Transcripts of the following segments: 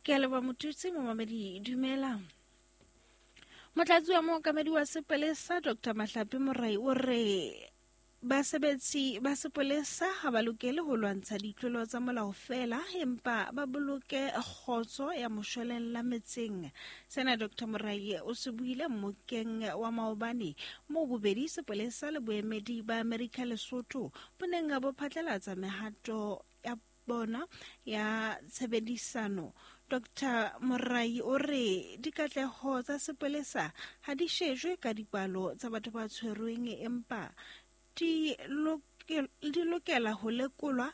Ke a leboha Motutsi, momamedi dumela. Motlatsi wa mookamedi wa sepolesa Dr. Mahlape Morai o re basebetsi ba sepolesa ha ba lokele ho lwantsha ditlolo tsa molao feela empa ba boloke kgotso ya moshwelella metseng. Sena Dr. Morai o se buile mmokeng wa maobane moo bobedi sepolesa le boemedi ba Amerika Lesotho bo neng bo phatlalatsa mehato ya bona ya tshebedisano. Dr. Morai o re dikatleho tsa sepolesa ha di shejwe ka dipalo tsa batho ba tshwerweng empa di lokela ho lekolwa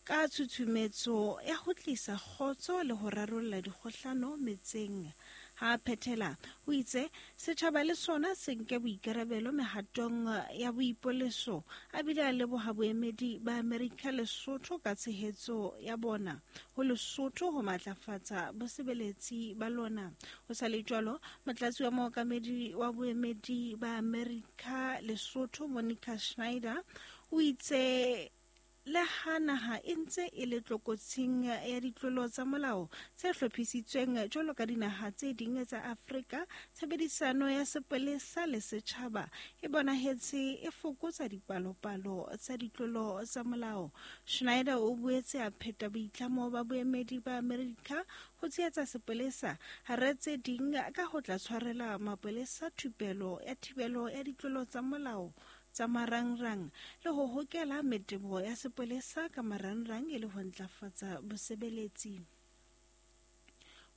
ka tshutshumetso ya ho tlisa kgotso le ho rarolla dikgohlano metseng. Ha a phethela, o itse setjhaba le sona se nke boikarabelo mehatong ya boipoleso, a bile a leboha boemedi ba Amerika Lesotho ka tshehetso ya bona ho Lesotho ho matlafatsa bosebeletsi ba lona. Ho sa le jwalo, motlatsi wa mookamedi wa boemedi ba Amerika Lesotho Monica Schneider o itse Le ha naha e ntse e le tlokotsing ya ditlolo tsa molao tse hlophisitsweng jwalo ka dinaha tse ding tsa Afrika, tshebedisano ya sepolesa le setjhaba e bonahetse e fokotsa dipalopalo tsa ditlolo tsa molao. Schneider o boetse a pheta boitlamo ba boemedi ba Amerika ho tshehetsa sepolesa hara tse ding ka ho tla tshwarela mapolesa thupelo ya thibelo ya ditlolo tsa molao tsa marangrang le ho hokela metebo ya sepolesa ka marangrang e le ho ntlafatsa bosebeletsi.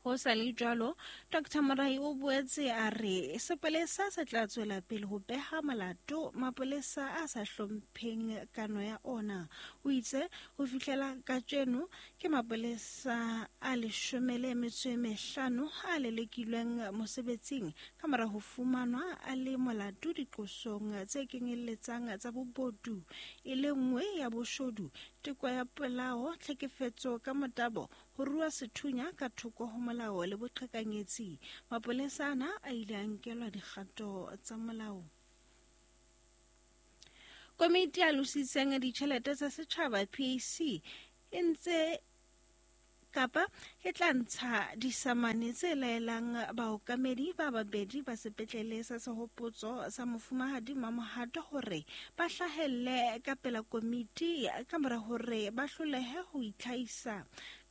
Ho sa le jwalo, Dr. Morai o boetse a re sepolesa se tla tswela pele ho beha molato mapolesa a sa hlompheng kano ya ona. O itse ho fihlela kajeno ke mapolesa a leshome le metso e mehlano a lelekilweng mosebetsing Ka mora ho fumanwa a le molato diqosong tse kenyelletsang tsa bobodu, e le nngwe ya boshodu, teko ya polao, tlhekefetso ka motabo, ho rua sethunya ka thoko ho molao le boqhekanyetsi, mapolesa ana a ile a nkelwa dikgato tsa molao. Komiti ya lositseng ditjhelete tsa setjhaba PAC e ntse kapa e tla ntsha disamane tse laelang baokamedi ba babedi ba sepetlele sa sehopotso sa mofumahadi Mamohato hore ba hlahelle ka pela komiti ka mora hore ba hlolehe ho itlhahisa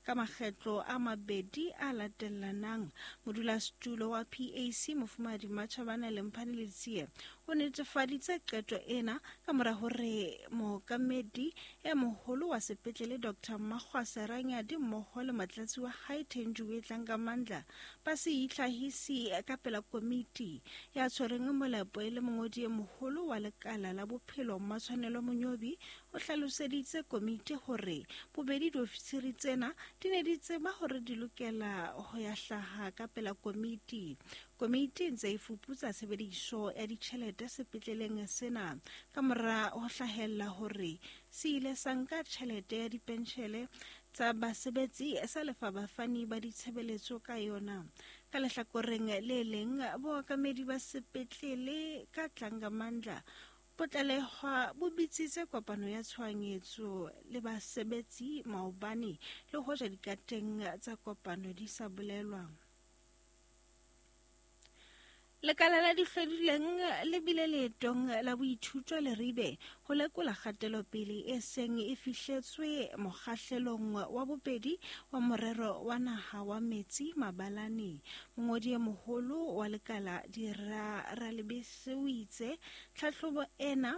ka makgetlo a mabedi a latellanang. Modulasetulo wa PAC mofumahadi Matjhabane Lemphane Letsie o netefaditse qeto ena ka mora hore mookamedi e moholo wa sepetlele Dr. Mmakgwasa Ranyadi mmoho le motlatsi wa hae Thenjiwe Tlangamandla ba se itlhahisi ka pela komiti. Ya tshwereng molepo e le mongodi e moholo wa lekala la bophelo Mmatshwanelo Monyobi o hlaloseditse komiti hore bobedi diofisiri tsena di ne di tseba hore di lokela ho ya hlaha ka pela komiti. Komiti e ntse e fuputsa tshebediso ya ditjhelete sepetleleng sena ka mora ho hlahella hore se ile sa nka tjhelete ya dipenshele tsa basebetsi sa lefa bafani ba ditshebeletso ka yona. Ka lehlakoreng le leng, bookamedi ba sepetlele ka Tlangamandla bo tlalehwa bo bitsitse kopano ya tshohanyetso le basebetsi maobane le hoja dikateng tsa kopano di sa bolelwa. Lekala la dihlodileng le bile leetong la boithuto Leribe ho lekola kgatelopele e seng e fihletswe mokgahlelong wa bobedi wa morero wa naha wa metsi Mabalane. Mongodi e moholo wa lekala Dira Ralebese o itse tlhahlobo ena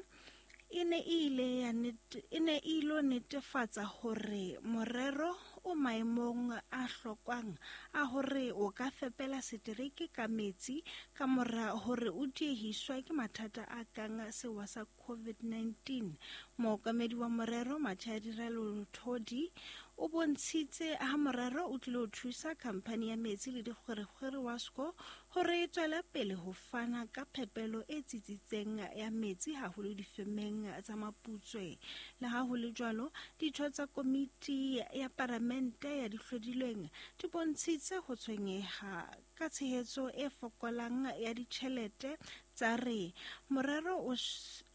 e ne e ile ya e ne e ilo netefatsa hore morero o maemong a hlokwang a hore o ka fepela setereke ka metsi ka mora hore o diehiswa ke mathata a kang sewa sa COVID-19. Mookamedi wa morero Machadi Ralolthodi o bontshitse ha morero o tlilo thusa khamphani ya metsi le dikgwerekgwere WASCO hore e tswele pele ho fana ka phepelo e tsitsitseng ya metsi haholo difemeng tsa Maputswe. Le ha ho le jwalo, ditho tsa komiti ya paramente ya dihlodilweng di bontshitse ho tshwenyeha ka tshehetso e fokolang ya ditjhelete tsa re morero o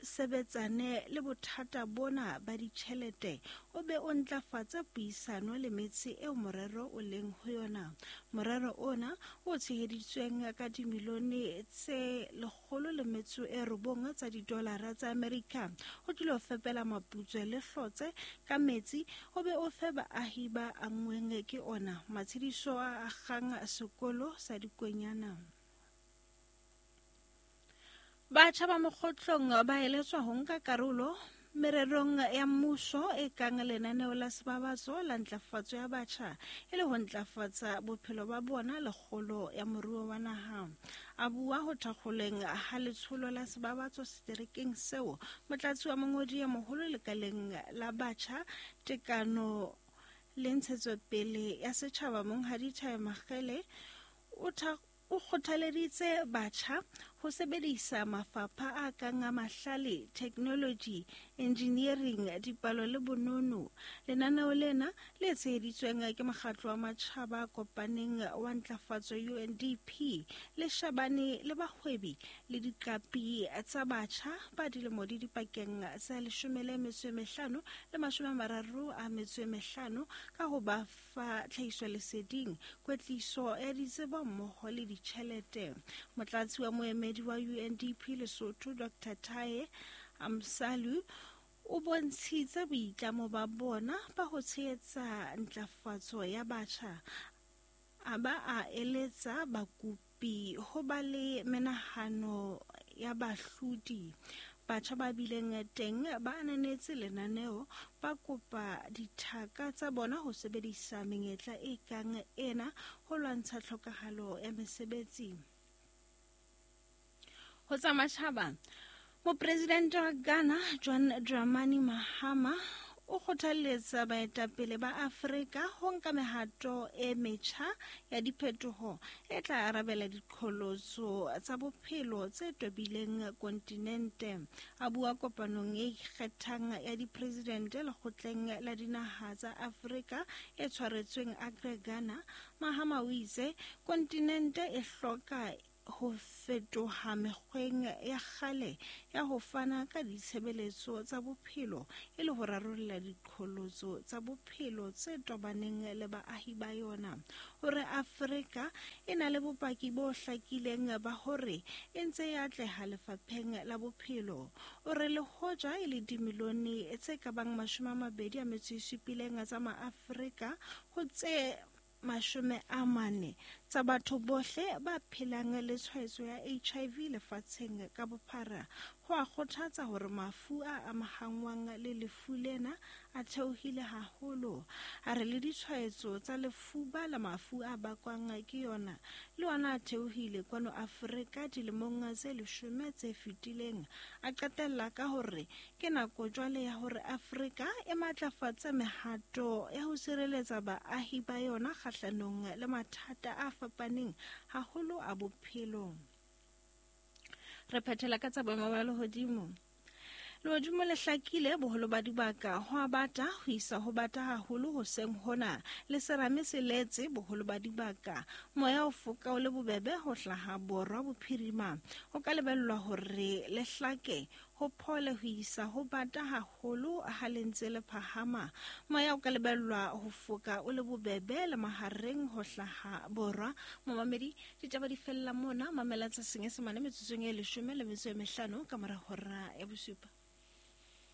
sebetsane le bothata bona ba ditjhelete o be o ntlafatse puisano le metse eo morero o leng ho yona. Morero ona o tsheheditsweng ka dimilione tse 109 tsa didolara tsa Amerika o tlilo fepela Maputswe le Hlotse ka metsi o be o fe baahi ba anngweng ke ona matshediso a akgang sekolo sa dikwenyana. Batjha ba mokgotlong ba eletswa ho nka karolo mererong ya mmuso e kang lenaneo la sebabatso la ntlafatso ya batjha e le ho ntlafatsa bophelo ba bona le kgolo ya moruo wa naha. A bua ho thakgoleng ha letsholo la sebabatso seterekeng seo, motlatsi wa mongodi ya moholo lekaleng la batjha tekano le ntshetsopele ya setjhaba Monghadi Thai Makgele o kgothaleditse batjha ho sebedisa mafapha a kang a mahlale, technology, engineering, dipalo le bonono. Lenaneo lena le tsheheditsweng ke mokgatlo wa matjhaba a kopaneng wa ntlafatso UNDP le shebane le bahwebi le diqapi tsa batjha ba dilemo di dipakeng tsa 15 le 35 ka ho ba fa tlhahisoleseding, kwetliso ya ditsebo mmoho le ditjhelete. Motlatsi wa moemedi wa UNDP Lesotho Dr. Taye Amsalu o bontshitse boitlamo ba bona ba ho tshehetsa ntlafatso ya batjha, a ba a eletsa bakopi ho ba le menahano ya bahlodi. Batjha ba bileng teng ba ananetse lenaneo, ba kopa dithaka tsa bona ho sebedisa menyetla e kang ena ho lwantsha tlhokahalo ya mesebetsi. Ho tsa matjhaba, Mopresidente wa Ghana John Dramani Mahama o kgothalletsa baetapele ba Afrika ho nka mehato e metjha ya diphetoho e tla arabela diqholotso tsa bophelo tse tobileng kontinente. A bua kopanong e ikgethang ya dipresidente lekgotleng la dinaha tsa Afrika e tshwaretsweng Accra, Ghana, Mahama o itse kontinente e hloka ho fetoha mekgweng ya kgale ya ho fana ka ditshebeletso tsa bophelo e le ho rarolla diqholotso tsa bophelo tse tobaneng le baahi ba yona. Hore Afrika e na le bopaki bo hlakileng ba hore e ntse e atleha lefapheng la bophelo. O re le hoja e le dimilione tse ka bang 27 tsa maAfrika ho tse 40 tsa batho bohle ba phelang le tshwaetso ya HIV lefatsheng ka bophara. Ho a kgothatsa hore mafu a amahangwang le lefu lena a theohile haholo. A re le ditshwaetso tsa lefuba la mafu a bakwang ke yona le ona a theohile kwano Afrika dilemong tse 10 tse fetileng. A qetella ka hore ke nako jwale ya hore Afrika e matlafatse mehato ya ho sireletsa baahi ba yona kgahlanong le mathata a fapaneng haholo a bophelo. Re phethela ka tsa boemo ba lehodimo. Lehodimo le hlakile boholo ba dibaka ho a bata ho isa ho bata haholo hoseng hona le serame se letse boholo ba dibaka. Moya o foka o le bobebe ho hlaha borwa bophirima. Ho ka lebellwa hore le hlake ho phole ho isa ho bata haholo ha le ntse le phahama. Moya o ka lebellwa ho foka o le bobebe le mahareng ho hlaha borwa. Momamedi, ditaba di fella mona, mamela tsa Senyesemane metsotsong e 15 ka mora hora ya 7.